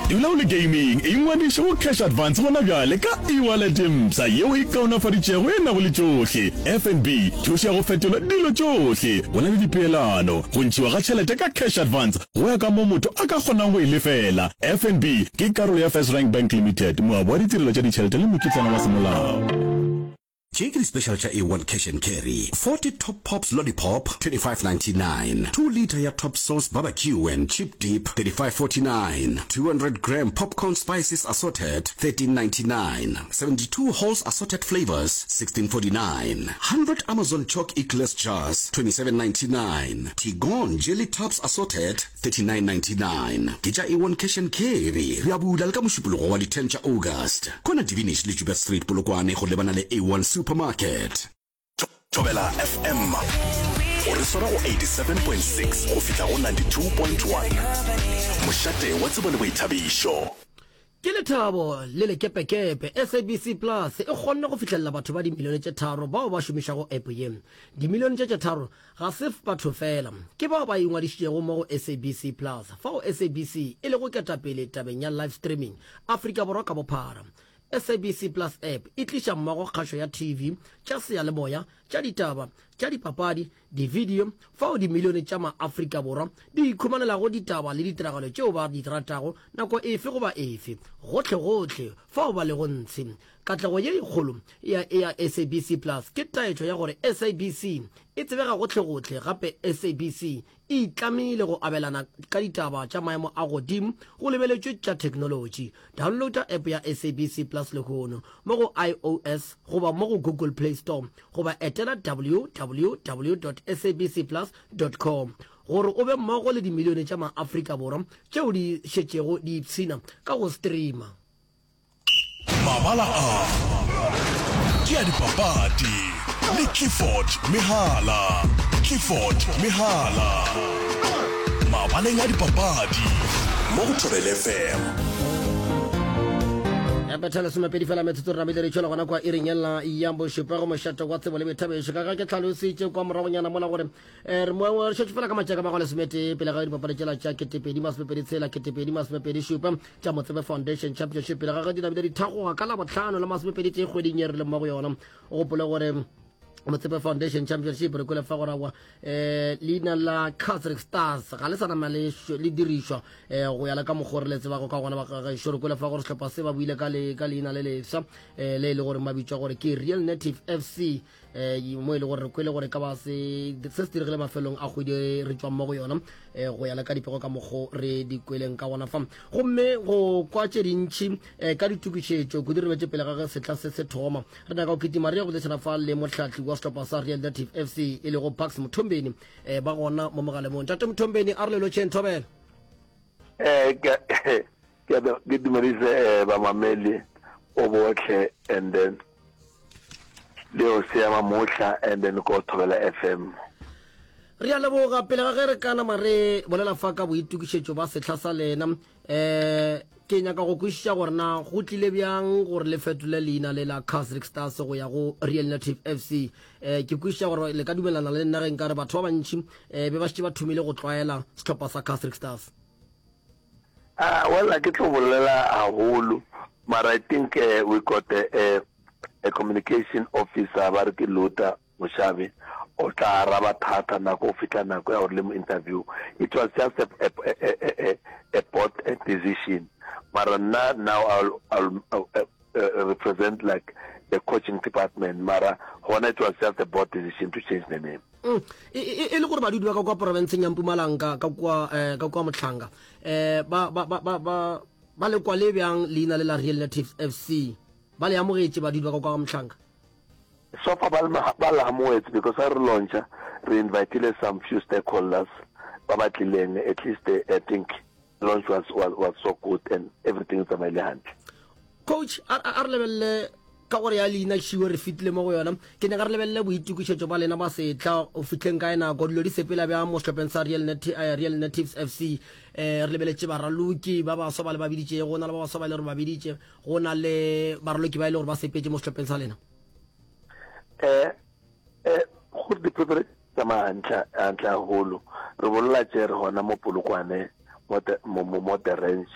Dula o le gaming, ingwadiše go Cash Advance gona bjale ka e-wallet e mpsha yeo e kaonafaditšego e nago le tšohle. FNB, thušo ya go fetola dilo tšohle. Go na le dipeelano, go ntšhiwa ga tšhelete ka Cash Advance go ya ka moo motho a ka kgonang go e lefela. FNB ke karolo ya FirstRand Bank Limited, moabi wa ditirelo tša ditšhelete le mokitlana wa semolao. Tše ke di-special tša A1 Cash and Carry, 40 Top Pops Lollipop, 25.99, 2 litre ya Top Sauce Barbecue and Chip Dip, 35.49, 200 gram Popcorn Spices Assorted, 13.99, 72 Halls Assorted Flavours, 16.49, 100 Amazon Choc Eclairs Jars, 27.99, Tigon Jelly Tubs Assorted, 39.99. Ke tša A1 Cash and Carry. Re a bula le ka Mošupologo wa di 10 tša August. Kona Divinish le Joubert Street, Polokwane go lebana le A1 Supermarket. Thobela FM o re swara go 87.6 go fihla go 92.1. Mošate wa tsebo le boithabišo. Ke lethabo le lekepekepe, SABC Plus e kgonne go fihlelela batho ba dimilione tše tharo bao ba šomišago app ye. Dimilione tše tše tharo ga se batho fela, ke bao ba ingwadišitšego mo go SABC Plus, fao SABC e lego ketapele tabeng ya live streaming Afrika Borwa ka bophara. SABC Plus app e tliša mmogo kgašo ya TV, tša seyalemoya, tša ditaba, tša dipapadi, Dividio fao dimilione tša ma-Afrika Borwa di ikhumanelago ditaba le ditiragalo tšeo ba di ratago nako efe goba efe, gohlegohle fao ba lego ntshe. Katlego ye e kgolo ya ya SABC Plus ke taetšo ya gore SABC e tsebega gohlegohle gape SABC e itlamile go abelana ka ditaba tša maemo a godimo go lebeletšwe tša theknolotši. Downloada app ya SABC Plus lehono mo go iOS goba mo go Google Play Store goba etela www.sabcplus.com gore o be mmogo le dimilione tša maAfrika Borwa tšeo di šetšego di ipshina ka go streama. Mabala a ke a dipapadi le Clifford Mehala. Clifford Mehala. Mabaleng a dipapadi mo go Thobela FM. Ya betha lesomepedi fela metsotso re namile re tšwela gona kwa iring yela ya bošupa go mošate wa tsebo le boithabišo ka ga ke tlhalositše kwa moragonyana mola gore eh, re mo re šetše fela ka matšaka mago lesometee pele ga dipapadi tšela tša ketepedi masomepedi tshela ketepedi masomepedi šupa tša motsebe foundation championship pele ga ge di namile di thagoga ka labohlano la masomepedi tee kgweding ye re leng mo go yona o gopole gore Motsepe Foundation Championship re kwele fa gore awa eh leina la Casric Stars ga le sa nama le le dirišwa eh go ya le ka mokgwa re le tsebago ka gona ba gešo re kwele fa gore sehlopha se ba buile ka le ka leina le lefsa eh le e le gore ba bitšwa gore ke Real Native FC eh mo e le gore re kwele gore ka ba se se se diregile mafelong a kgwedi re tšwang mo go yona eh go ya le ka dipego ka mokgwa re di kweleng ka gona fa gomme go kwa tše dintši eh ka ditokišetšo kudu re betše pele ga ge setla se se thoma Re nyaka go kitima re ye go boledišana fa le mohlahli wa sehlopha sa Real Native FC e lego Bucks Mthombeni eh, ba gona mo mogalemong. Tate Mthombeni a re le lotšheng thobela. Eh ke ke ke dumedise eh, bamameli o botlhe and then le o seama mohla and then ko thobela FM. Re a leboga pele ga ge re ka nama re bolela fa ka boitokišetšo ba sehla sa lena um ke nyaka go kwešiša gore na go tlile bjang gore le fetole leina le la Casric Stars go ya go Real Native FC um ke kwešiša gore le ka dumelana le nna ge nka re batho ba bantši um be ba šetše ba thomile go tlwaela sehlopha sa Casric Stars. Ah, well, a ke tlo bolela haholo, mara I think uh, we got a, a, a communication officer ba re ke Luther Moshabe o tla araba thata nako go fihla nako ya gore le mo interview. It was just a, a, a, a, a board decision. Mara nna now I'll, I'll, I'll uh, uh, represent like the coaching department. Mara gona it was just a board decision to change the name. Mm. E, e, e le gore badudi ba ka kwa porofenseng ya Mpumalanga ka kwa eh, ka kwa Mohlanga eh ba ba ba ba ba ba le kwa le bjang leina le la Real Natives FC ba le amogetše badudi ba ka kwa Mohlanga So far ba ba le amohetse because ha re launcha re invitile some few stakeholders ba ba tlileng at least I think launch was was was so good and everything e tsamaile hantle. Coach a a re lebelele ka gore ya leina šiwe re fetile mo go yona ke nyaka re lebelele boitokišetšo ba lena ba setla o fihleng kae nako dilo di sepela bjang mo sehlopheng sa Real, Nati eh, Real Natives FC eh, re lebeletše baraloki ba baswa ba le ba biditšego go na le ba baswa ba e le gore ba biditše go na le baraloki ba e le gore ba sepetše mo sehlopheng sa lena Eh, eh, gore di-preparation tsamaya hantle hantle haholo. Re bolela tše re gona mo Polokwane, mo mo mo mo the ranch.